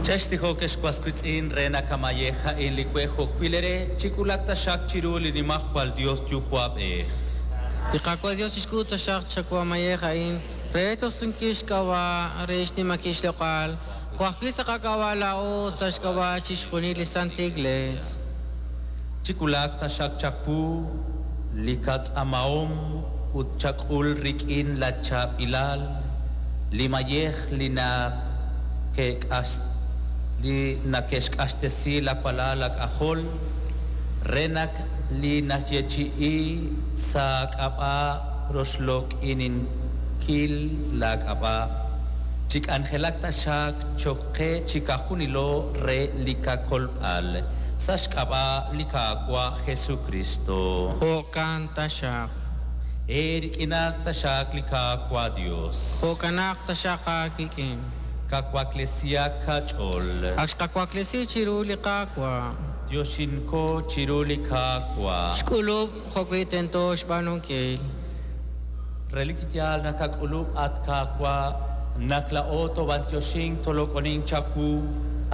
Chextijoq ex was wiitz'in re nakamayej a'in li we jo'wi' ere chik'ulak taxaq chiru li Nimajwal Dios Yuwa'b'ej. Li Qaawa' Dios chixk'ut taxaq chawamayej a'in re tosunkil xk'ab'a' re xnimankil xloq'al, jo' ajwi' sa' qak'ab'a' laa'o sa' xk'ab'a' chixjunil li Santa Iglesia. Chik'ulak taxaq chawu li katz'amahom ut chak'ul rik'in la chaab'ilal li mayej li li nake'xk'axtesi la walal ak'ajol re nak li naxyeechi'i sa' k'ab'a' roxloq'ininkil la k'ab'a' chik'anjelak taxaq choqe chikajunilo re li kakolb'al sa' xk'ab'a' li Qaawa' Jesucristo. Jo'kan taxaq. Erik'inak taxaq li Qaawa' Dios. Jo'kanaq taxaq aawik'in. Kawaklesiak kach'ol. Ak xqawaklesi chiru li Qaawa'. Dioshinko chiru li Qaawa'. Xk'ulub' jo'wi' tento xb'aanunkil. Relik chi yaal nakak'ulub' at Qaawa' nakla'o tob'antioxink tolok'onin chawu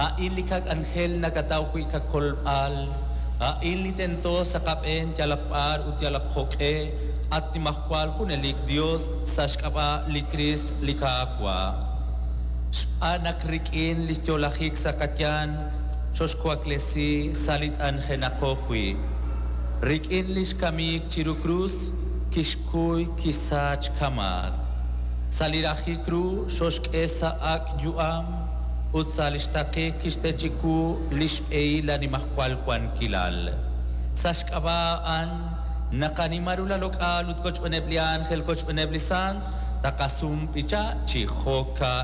a'in li kak'anjel nakataw wi' kakolb'al a'in li tento sa' qab'een yalaq b'ar ut yalaq jo'q'e at Nimajwal junelik Dios sa' xk'ab'a' li Kriist li Qaawa'. Xb'aan naq rik'in li xyo'lajik sa' qayanq xoxwaklesi sa' li t'anjenaqo wi'. Rik'in li xkamik chiru krus kixkuy kisach kamaak. Sa' li rajik ru xoxk'e sa' ak' yu'am ut sa' li xtaqik kixte chiwu li xb'ehil la Nimajwal wankilal. Sa' xk'ab'a' a'an naqanima ru la loq'al ut kochb'eneb' li ángel kochb'eneb' li sant taqasum b'icha chi joka.